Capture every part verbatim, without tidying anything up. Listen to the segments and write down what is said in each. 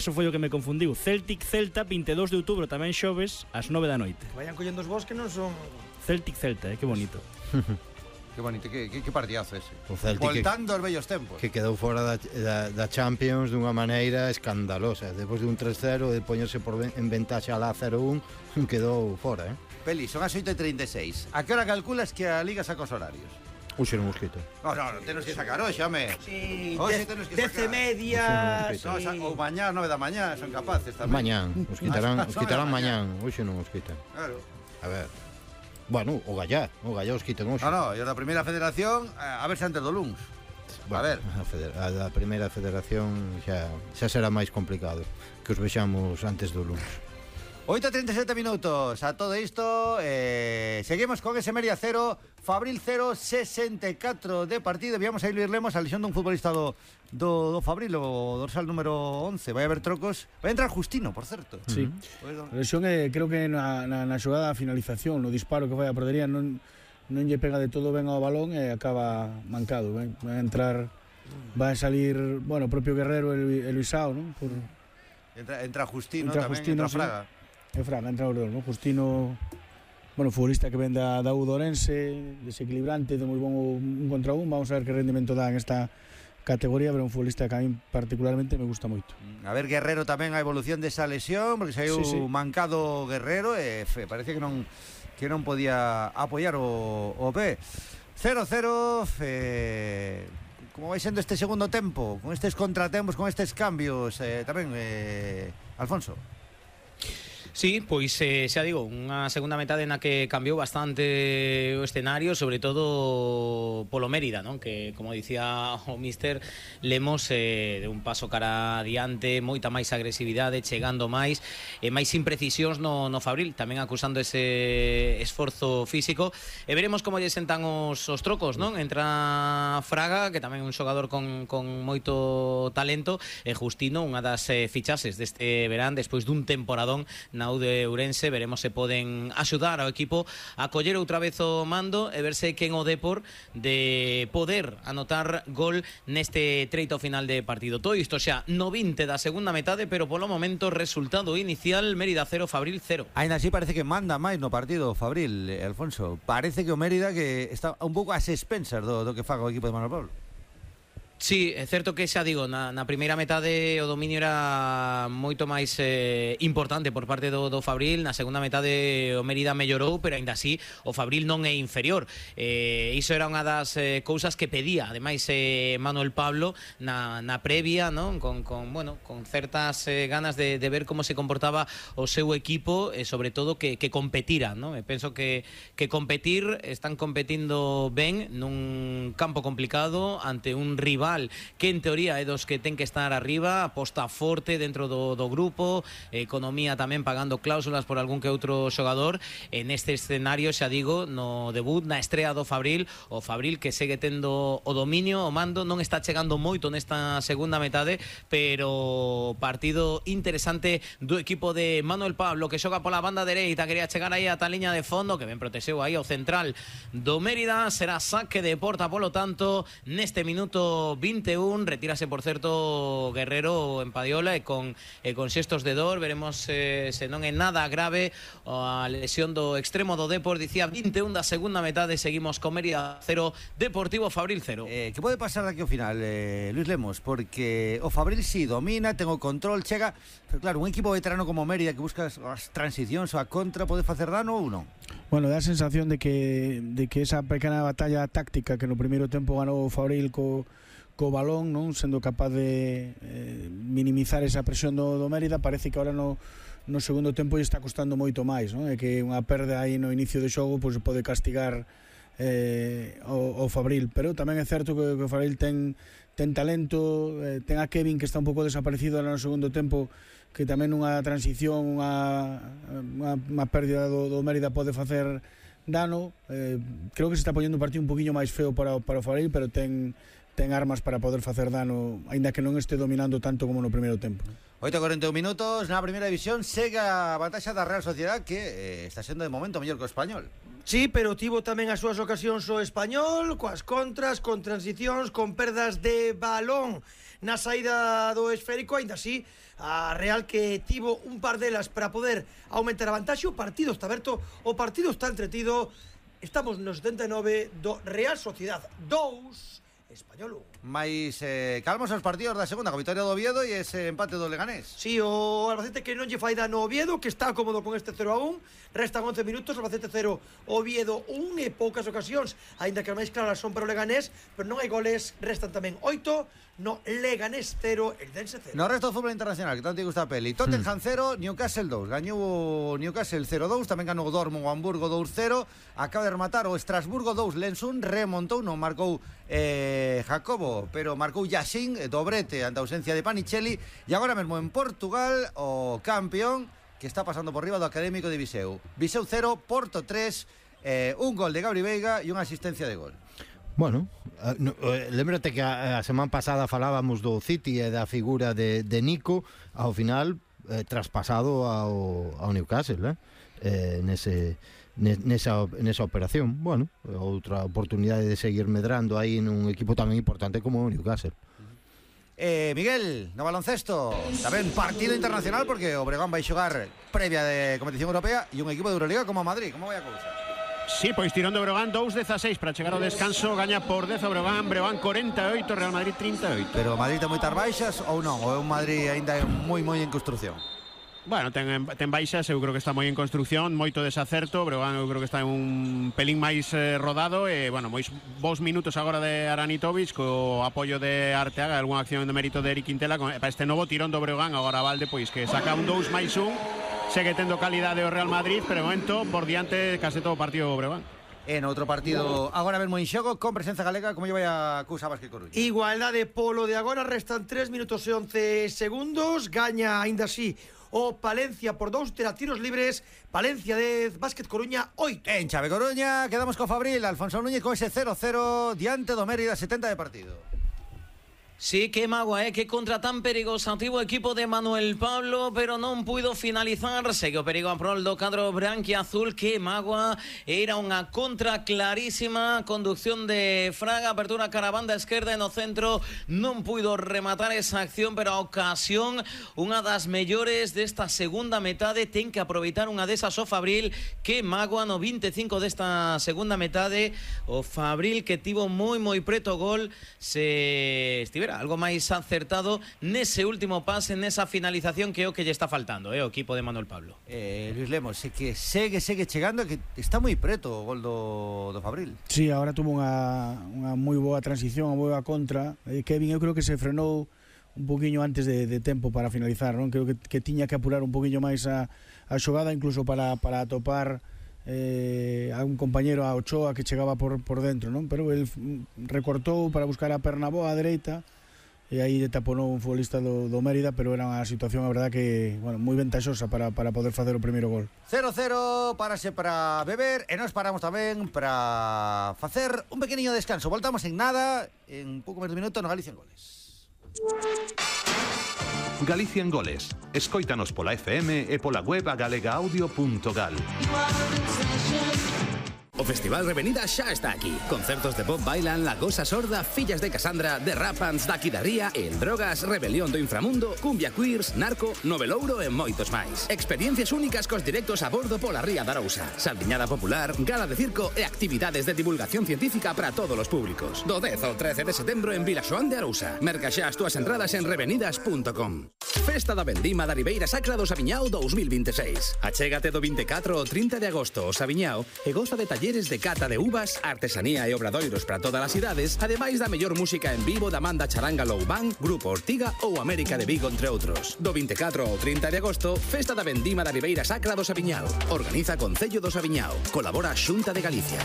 Eso foi o que me confundiu. Celtic Celta, vinte e dous de outubro, tamén xoves, ás nove da noite. Que vayan collendo os vos que non son... Celtic Celta, eh, que bonito. Que bonito, que, que, que partidazo ese. O Celtic Voltando aos vellos tempos. Que quedou fora da, da, da Champions dunha maneira escandalosa. Depois de un tres cero, de poñerse por en ventaxa lá cero un, quedou fora, eh? Peli, son as oito e trinta e seis. A que hora calculas que a Liga saca os horarios? Uxe no mosquito. No, no, no, tenos que sacar hoxe, home. Sí, Hoxe tenos que dez e sacar. media... No, esa, ou mañá, nove da mañá, son capaces tamén. Mañán, os quitarán, os quitarán mañán. Hoxe non os quitan. Claro. A ver. Bueno, o Gallá, o Gallá os quitan hoxe. No, no, e os da primeira federación, a ver se antes do luns. Bueno, a ver. A, feder, a da primeira federación xa, xa será máis complicado que os vexamos antes do luns. oito e trinta e sete minutos. A todo isto, eh, seguimos con ese Mérida cero, Fabril cero, sesenta e catro de partido. Viamos a Luís Lemos, a lesión dun futbolista do, do, do Fabril, o dorsal número once. Vai haber trocos. Vai entrar Justino, por certo. Sí. Uh-huh. A lesión é, creo que na, na, na xogada a finalización, no disparo que vai a perdería, non, non lle pega de todo ben ao balón e acaba mancado. Ben? Vai a entrar, vai a salir, bueno, o propio Guerrero e Luisao, non? Por... Entra, entra Justino entra tamén, Justino, entra Fraga. Sí. É Fraga, entra o Ordón, ¿no? Justino, bueno, futbolista que ven da, da U do Orense, desequilibrante, de moi bon un contra un. Vamos a ver que rendimento dá en esta categoría, pero un futbolista que a mí particularmente me gusta moito. A ver, Guerrero tamén a evolución desa lesión, porque saiu sí, sí. mancado Guerrero e fe, parece que non que non podía apoiar o, o P. cero cero, eh, como vai sendo este segundo tempo, con estes contratempos, con estes cambios, eh, tamén, eh, Alfonso. Sí, pois eh, xa digo, unha segunda metade na que cambiou bastante o escenario, sobre todo polo Mérida, non? Que, como dicía o míster Lemos, eh, de un paso cara adiante, moita máis agresividade, chegando máis, e máis imprecisións no, no Fabril, tamén acusando ese esforzo físico, e veremos como lle sentan os, os trocos, non? Entra Fraga, que tamén é un xogador con, con moito talento, e Justino, unha das eh, fichases deste verán, despois dun temporadón na U de Ourense. Veremos se poden axudar ao equipo a coller outra vez o mando e verse quen o Depor de poder anotar gol neste treito final de partido. Todo isto xa no vinte da segunda metade, pero polo momento resultado inicial Mérida cero, Fabril cero. Ainda así parece que manda máis no partido Fabril, eh, Alfonso. Parece que o Mérida que está un pouco ás expensas do, do que faga o equipo de Manuel Pablo. Sí, é certo que xa digo, na, na primeira metade o dominio era moito máis eh, importante por parte do, do Fabril. Na segunda metade o Mérida mellorou, pero aínda así o Fabril non é inferior. eh, Iso era unha das eh, cousas que pedía ademais eh, Manuel Pablo na, na previa, non? Con, con, bueno, con certas eh, ganas de, de ver como se comportaba o seu equipo, e sobre todo que, que competira, non? E penso que, que competir, están competindo ben nun campo complicado ante un rival que en teoría é dos que ten que estar arriba, aposta forte dentro do, do grupo, economía tamén pagando cláusulas por algún que outro xogador. En este escenario, xa digo, no debut, na estrea do Fabril, o Fabril que segue tendo o dominio, o mando, non está chegando moito nesta segunda metade, pero partido interesante do equipo de Manuel Pablo, que xoga pola banda dereita, quería chegar aí a tal liña de fondo, que ben protexeu aí ao central do Mérida. Será saque de porta, polo tanto, neste minuto vinte e un, retírase por certo Guerrero en Padiola e con, e con xestos de dor. Veremos eh, se non é nada grave a lesión do extremo do Depor. Dicía vinte e un da segunda metade, seguimos con Mérida cero, Deportivo Fabril cero. Eh, que pode pasar daqui ao final, eh, Luís Lemos? Porque o Fabril si domina, ten o control, chega, pero claro, un equipo veterano como Mérida que busca as transicións ou a contra, pode facer dano ou non? Bueno, dá a sensación de que, de que esa pequena batalla táctica que no primeiro tempo ganou o Fabril co co balón, non sendo capaz de eh, minimizar esa presión do, do Mérida, parece que ahora no, no segundo tempo lle está costando moito máis, non? É que unha perda aí no inicio do xogo pois pode castigar eh, o, o Fabril, pero tamén é certo que, que o Fabril ten, ten talento, eh, ten a Kevin que está un pouco desaparecido no segundo tempo, que tamén unha transición, unha, unha, unha pérdida do, do Mérida pode facer dano. eh, creo que se está poñendo un partido un poquinho máis feo para, para o Fabril, pero ten ten armas para poder facer dano, aínda que non este dominando tanto como no primeiro tempo. oito e cuarenta e un minutos, na primeira división segue a vantaxa da Real Sociedad, que eh, está sendo de momento mellor que o Español. Sí, pero tivo tamén as súas ocasións o Español, coas contras, con transicións, con perdas de balón na saída do esférico. Ainda así, a Real que tivo un par delas para poder aumentar a vantaxe. O partido está aberto, o partido está entretido. Estamos no setenta e nove do Real Sociedad dous, Español un. Mais eh, calmos os partidos da segunda, con vitoria do Oviedo e ese empate do Leganés. Sí, o Albacete que non lle fai dano ao Oviedo, que está cómodo con este cero a un. Restan once minutos, Albacete cero, Oviedo un, e poucas ocasións, aínda que as máis claras son para o Leganés, pero non hai goles, restan tamén oito, no Leganés cero, el Dense cero. No resto do fútbol internacional, que tanto te gusta a peli. Tottenham cero, Newcastle dous. Gañou o Newcastle cero dous, tamén ganou o Dortmund o Hamburgo dous cero. Acaba de rematar o Estrasburgo dous, Lens un, remontou, non marcou eh, Jacobo, pero marcou Yassin, dobrete ante a ausencia de Panicelli. E agora mesmo en Portugal, o campeón que está pasando por riba do Académico de Viseu. Viseu cero, Porto tres, eh, un gol de Gabri Veiga e unha asistencia de gol. Bueno, uh, no, uh, lembrate que a, a semana pasada falábamos do City e da figura de, de Nico, ao final eh, traspasado ao, ao Newcastle, eh? Eh, nese, nesa, nesa operación. Bueno, outra oportunidade de seguir medrando aí nun equipo tan importante como o Newcastle. Eh, Miguel, no baloncesto tamén partido internacional, porque o Breogán vai xogar previa de competición europea e un equipo de Euroliga como Madrid. Como vai a cousa? Sí, pois tirón de Breogán dous dezasseis para chegar ao descanso, gaña por dez o Breogán, Breogán corenta e oito, Real Madrid trinta e oito. Pero o Madrid ten moitas baixas ou non? Ou é un Madrid aínda moi moi en construción? Bueno, ten, ten baixas, eu creo que está moi en construción, moito desacerto, Breogán eu creo que está en un pelín máis eh, rodado e, bueno, moi bons minutos agora de Aranitovic co apoio de Arteaga, algunha acción de mérito de Eric Quintela para este novo tirón do Breogán. Agora Valde, pois, que saca un dous máis un, segue tendo calidade o Real Madrid, pero de momento por diante case todo o partido o Breogán. En outro partido agora mesmo en xogo con presenza galega, como lle vai a cousa Vázquez Coruña? Igualdade polo de agora, restan tres minutos e once segundos. Gaña aínda así o Palencia por dous, terá tiros libres. Palencia dez, Vázquez Coruña oito. En Chave Coruña quedamos co Fabril, Alfonso Núñez con ese cero cero diante do Mérida, setenta de partido. Sí, que magua, eh, que contra tan perigosa tivo o equipo de Manuel Pablo, pero non puido finalizar. Segue o perigo a prol do cadro branquiazul. Que magua, era unha contra clarísima, conducción de Fraga, apertura cara a banda esquerda e no centro non puido rematar esa acción, pero a ocasión unha das mellores desta segunda metade. Ten que aproveitar unha desas o Fabril. Que magua, no vinte e cinco desta segunda metade, o Fabril que tivo moi moi preto gol. Se estivera algo máis acertado nese último pase, nesa finalización, que é o que lle está faltando, eh, o equipo de Manuel Pablo. Eh, Luis Lemos, é que segue, segue chegando, que está moi preto o gol do, do Fabril. Sí, agora tuvo unha, unha moi boa transición, unha boa contra. Eh, Kevin, eu creo que se frenou un poquinho antes de, de tempo para finalizar, non? Creo que, que tiña que apurar un poquinho máis a, a xogada, incluso para, para atopar eh, a un compañero, a Ochoa, que chegaba por, por dentro, non? Pero el recortou para buscar a perna boa a dereita e aí taponou un futbolista do, do Mérida, pero era unha situación, a verdad, que, bueno, moi ventaxosa para, para poder facer o primeiro gol. cero cero, parase para beber e nos paramos tamén para facer un pequeniño descanso. Voltamos en nada, en pouco menos de minuto, no Galicia en Goles. Galicia en Goles. Escóitanos pola F M e pola web a galega audio punto gal. O Festival Revenida xa está aquí. Concertos de Bob Bailan, La Gosa Sorda, Fillas de Casandra, The Rapans, Daqui da Ría, El Drogas, Rebelión do Inframundo, Cumbia Queers, Narco, Novelouro e moitos máis. Experiencias únicas cos directos a bordo pola Ría da Arousa. Saldiñada popular, gala de circo e actividades de divulgación científica para todos os públicos. Do dez ao trece de setembro en Vilaxoán de Arousa. Merca xa as túas entradas en revenidas punto com. Festa da Vendima da Ribeira Sacra do Sabiñao dous mil vinte e seis. Achégate do vinte e catro ao trinta de agosto ao Sabiñao e goza de talleres de cata de uvas, artesanía e obradoiros para todas as idades, ademais da mellor música en vivo da Manda Charanga Low Band, Grupo Ortiga ou América de Vigo, entre outros. Do vinte e catro ao trinta de agosto, Festa da Vendima da Ribeira Sacra do Sabiñao. Organiza Concello do Sabiñao. Colabora Xunta de Galicia.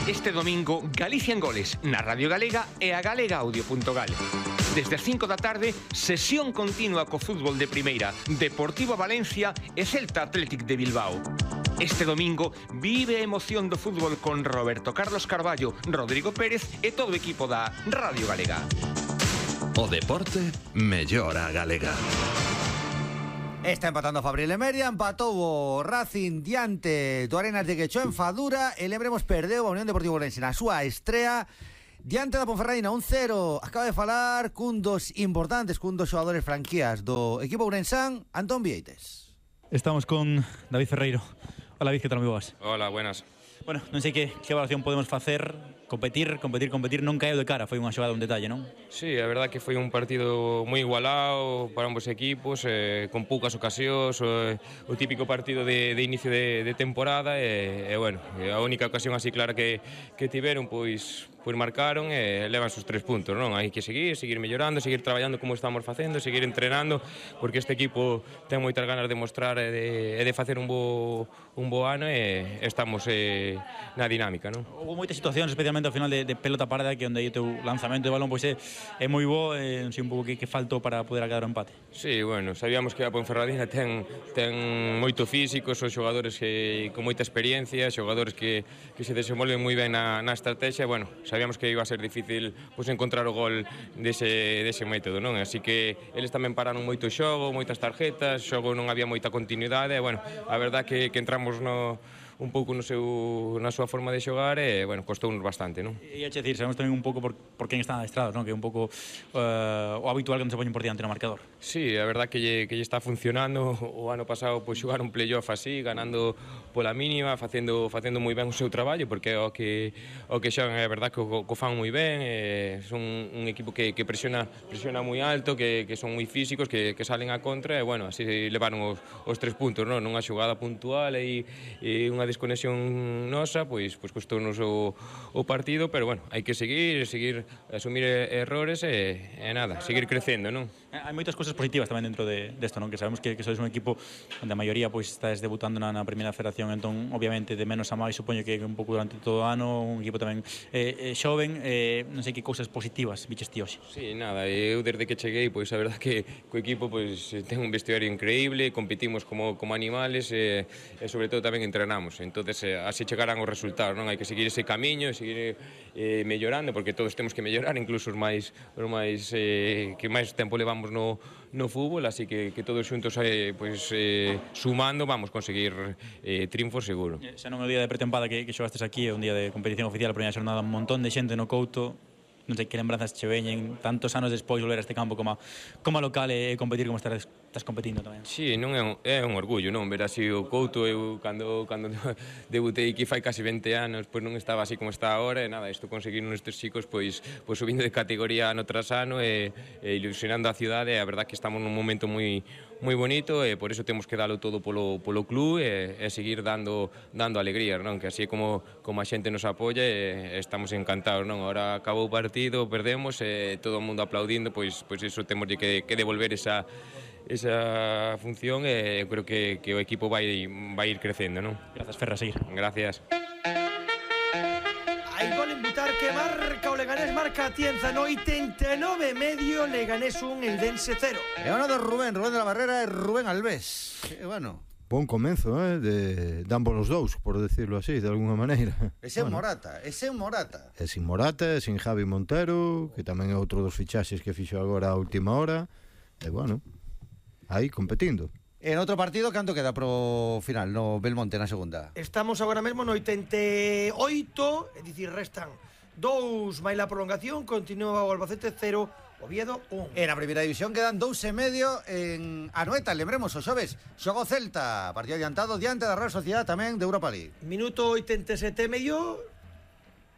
Este domingo, Galicia en Goles, na Radio Galega e a galega audio punto gal. Desde as cinco da tarde, sesión continua co fútbol de primeira, Deportivo Valencia e Celta Athletic de Bilbao. Este domingo vive a emoción do fútbol con Roberto Carlos Carballo, Rodrigo Pérez e todo o equipo da Radio Galega. O deporte mellora a galega. Está empatando Fabril e Meria, empatou o Racing diante do Arenas de Quechó en Fadura e lembremos perdeu a Unión Deportiva Ourense na súa estrea diante da Ponferradina un cero. Acaba de falar cun dos importantes, cun dos xogadores franquías do equipo ourensán, Antón Vieites. Estamos con David Ferreiro. Hola, David, que tal, moi boas? Hola, buenas. Bueno, non sei que, que evaluación podemos facer. Competir, competir, competir, non caeu de cara. Foi unha xogada, un detalle, non? Sí, a verdad que foi un partido moi igualado para ambos equipos, eh, con poucas ocasións, o, o típico partido de, de inicio de, de temporada e, e bueno, a única ocasión así clara que, que tiveron, pois, pois marcaron e levan sus tres puntos, non? Hai que seguir, seguir mellorando, seguir traballando como estamos facendo, seguir entrenando, porque este equipo ten moitas ganas de mostrar e de, e de facer un bo, un bo ano e estamos eh, na dinámica, non? Houve moitas situacións, especialmente ao final de, de pelota parada, que onde aí o teu lanzamento de balón pois é, é moi bo, e non sei un pouco que, que faltou para poder acadar o empate. Sí, bueno, sabíamos que a Ponferradina ten, ten moito físico, son xogadores que, con moita experiencia, xogadores que, que se desenvolven moi ben na, na estrategia, bueno, sabíamos que iba a ser difícil pois, encontrar o gol dese, dese método, non? Así que eles tamén pararon moito xogo, moitas tarjetas, xogo non había moita continuidade, e, bueno, a verdad que, que entramos no un pouco no seu, na súa forma de xogar e, bueno, costounos bastante, non? E a decir, sabemos tamén un pouco por, por quen están adestrados, non? Que é un pouco uh, o habitual que non se poñen por diante no marcador. Sí, a verdad que lle, que lle está funcionando. O ano pasado pois xogar un playoff así, ganando pola mínima, facendo facendo moi ben o seu traballo, porque é o que o que xogan, é verdad que o, o fan moi ben, e son un equipo que, que presiona presiona moi alto, que, que son moi físicos, que, que salen a contra, e, bueno, así levaron os, os tres puntos, non? Nunha xogada puntual e, e unha desconexión nosa, pois, pois costounos o, o partido, pero, bueno, hai que seguir, seguir, asumir errores e, e nada, seguir crecendo, non? Hai moitas cousas positivas tamén dentro de, desto, non? Que sabemos que, que sois un equipo onde a maioría pois estás debutando na, na primeira federación, entón, obviamente, de menos a máis, supoño que un pouco durante todo o ano, un equipo tamén eh, eh, xoven, eh, non sei que cousas positivas biches ti hoxe. Sí, nada, eu desde que cheguei, pois a verdad que co equipo pois ten un vestuario increíble, competimos como, como animales e, e sobre todo tamén entrenamos. Entonces, eh, así chegarán os resultados, non? Hai que seguir ese camiño, seguir eh, mellorando, porque todos temos que mellorar, incluso os máis, os máis eh, que máis tempo levamos no, no fútbol, así que, que todos xuntos eh, pois, eh, sumando vamos conseguir eh, triunfos seguro. Xa non é o día de pretempada que, que xogastes aquí, é un día de competición oficial, a primeira xornada, un montón de xente no Couto. Non sei que lembranzas che veñen tantos anos despois volver a este campo como a, como a local e competir como estás, estás competindo tamén. Sí, non é un, é un orgullo, non? Ver así o Couto, eu cando, cando debutei aquí fai casi vinte anos, pois non estaba así como está agora, e nada, isto conseguiron estes chicos pois, pois subindo de categoría ano tras ano e, e ilusionando a cidade, e a verdad que estamos nun momento moi moi bonito, e por iso temos que dalo todo polo, polo club e, e seguir dando dando alegrías, non? Que así é como, como a xente nos apoia e, e estamos encantados, non? Ahora acabou o partido, perdemos e todo o mundo aplaudindo, pois, pois iso temos que, que devolver esa esa función e eu creo que, que o equipo vai, vai ir crecendo, non? Grazas, Ferra, seguir. Gracias. Hai gol en Butarque, marca o Leganés, marca a Tienza no oitenta e nove e medio, Leganés un, Eldense cero. E ano de Rubén, Rubén de la Barrera e Rubén Alves. E, bueno, bon comenzo, eh, de, de ambos os dous, por decirlo así, de alguna maneira. E sen bueno, Morata, e sen Morata. E sin Morata, e sin Javi Montero, que tamén é outro dos fichaxes que fixo agora a última hora. E, bueno, aí competindo. En outro partido, canto queda pro final no Belmonte na segunda? Estamos agora mesmo no oitenta e oito, é dicir, restan dous máis la prolongación, continúa o Albacete cero, Oviedo un. En a primeira división quedan dous e medio en Anoeta, lembremos o xoves, xogo Celta, partido adiantado diante da Real Sociedad tamén de Europa League. Minuto oitenta e sete e medio,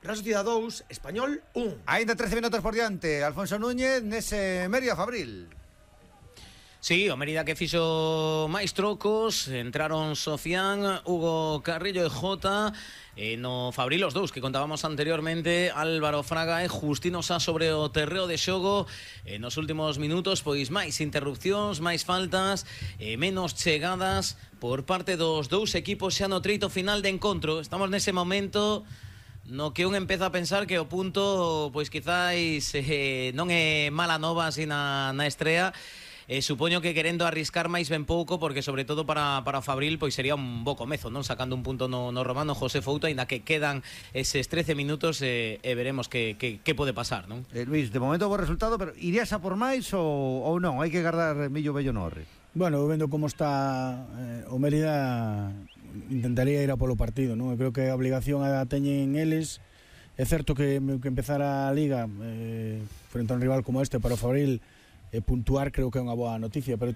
Real Sociedad dous, Español un. Ainda trece minutos por diante, Alfonso Núñez nese Mérida Fabril. Sí, o Mérida que fixo máis trocos, entraron Sofián, Hugo Carrillo e Jota, e no Fabril os dous que contábamos anteriormente, Álvaro Fraga e Justino Sá sobre o terreo de xogo. E nos últimos minutos, pois máis interrupcións, máis faltas, e menos chegadas por parte dos dous equipos xa no treito final de encontro. Estamos nese momento no que un empeza a pensar que o punto, pois quizáis eh, non é mala nova así na, na estrea. Eh, supoño que querendo arriscar máis ben pouco, porque sobre todo para, para o Fabril pois sería un bo comezo, non? Sacando un punto no, no Romano José Fouto, ainda que quedan eses trece minutos e eh, eh, veremos que, que, que pode pasar, non? Eh, Luis, de momento bo resultado, pero irías a por máis ou, ou non? Hai que guardar millo bello no horre? Bueno, vendo como está eh, o Mérida, intentaría ir a polo partido, non? Eu creo que a obligación a teñen eles. É certo que, que empezar a Liga eh, frente a un rival como este para o Fabril, eh, puntuar creo que é unha boa noticia, pero